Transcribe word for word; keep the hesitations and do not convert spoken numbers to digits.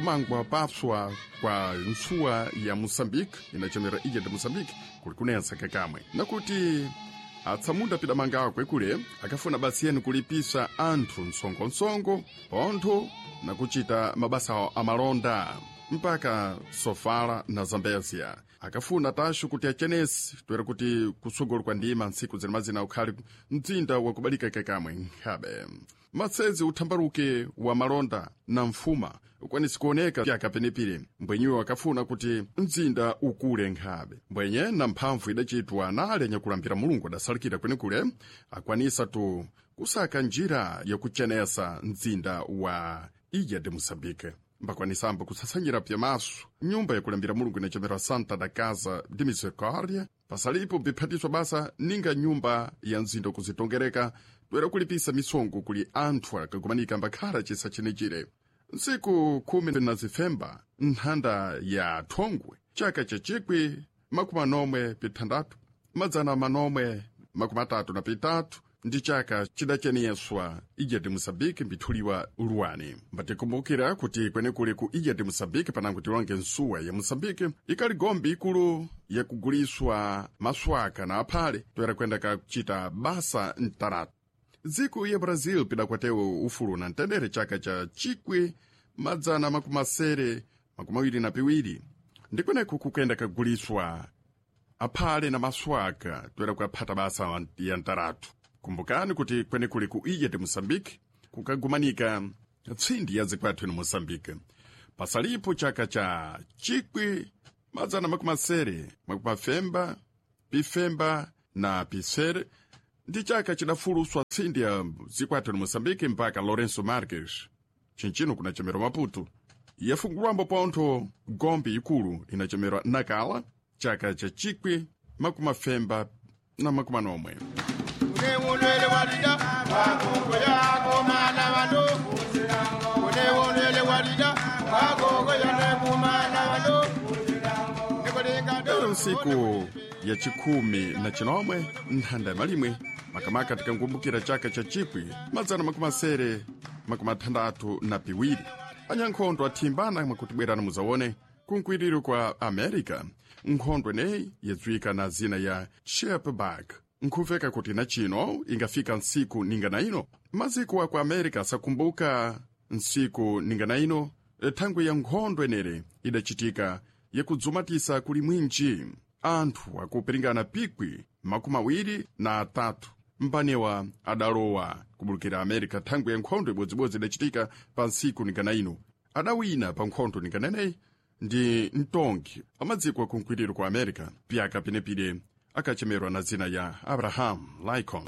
Kumangwa papswa kwa ntsuwa ya Moçambique inachemera Ilha de Moçambique kuli kunensa kakamwe nakuti atsamunda pidamanga akwe kule akafuna basi yenu kulipisa anthu msongonsongo pontho nakuchita mabasa amalonda mpaka Sofala na Zambezia. Akafuna taxo kuti achenesi toera kuti kusogolo kwa ndima ntsiku zinamazina ukhali mdzinda wakubalika kakamwe nkhabe matsezi uthambaluke wa malonda na mfuma ukwanisi kuoneka pyaka penepire mbwenyiwo akafuna kuti mdzinda ukule nkhabe mbwenye na mphamvu idachitwa nale nyakulambira Mulungu adasalikira kwenekule akwanisa tu kusaka njira yakuchenesa mdzinda wa Ilha de Moçambique mbakwanisambo kusasanyira pyamaso nyumba yakulambira Mulungu inachemera Santa da Casa de Misericórdia pasalipo biphatiswa basa ninga nyumba ya mzinda kuzitongereka toera kulipisa misongo kuli anthu akagumanika mbakhala chisa chenechire ntsiku khumi na zifemba nthanda ya thongwe chaka cha chikwi makumi anomwe pithandatu madzana manomwe makumi atatu na pitatu ndi chaka chidacheniyeswa Ilha de Moçambique mbithuliwa luwani. Mbatikumbukira kuti kwenekule ku Ilha de Moçambique panango tilonge nsuwa ya Moçambique ikali gombe ikulu yakuguliswa maswaka na aphale toera kwenda kakuchita basa mtaratu. Dziko ya Brazil pidakwatewo ufulu na mtendere chaka cha chikwi madzana makumi asere makumi awiri na piwiri ndikweneku kukenda kaguliswa aphale na maswaka toera kuaphata basa ya mtaratu. Kumbukani kuti kwenekuli ku Ilha de Moçambique kukagumanika tsindi ya zikwathu ino Moçambique pasalipo chaka cha chikwi madzana makumi asere makumi afemba pifemba na pisere ndi chaka chidafuluswa tsindi ya zikwathu ino Moçambique mpaka Lourenço Marques chinchino kunachemerwa Maputo yafungulwambo pontho gombe ikulu inachemerwa Nakala chaka cha chikwi makumi afemba na makumi anomwe. Lero nsiku ya chikhumi na chinomwe nthanda ya malimwe makamaka tikangumbukira chaka cha chikwi madzana makumi asere makumi athandathu na piwiri anyankhondo athimbana mwakutibwerana muzaone kunkwiriro kwa America nkhondo eneyi yadziwika na zina ya Chipback nkhuveka kuti na chino ingafika ntsiku ninga na ino maziko aku America asakumbuka ntsiku ninga na ino thangwi ya nkhondo enere idachitika yakudzumatisa kuli mwinji anthu akupiringana pikwi makumi awiri na atatu mpanewa adalowa kubulukira America thangwi ya nkhondo ibodzibodzi idachitika pa ntsiku ninga na ino adawina pa nkhondo ninga neneyi ndi mtongi amadziko akunkwiriro kwa America pyaka penepire akachemerwa na zina ya Abraham Lincoln.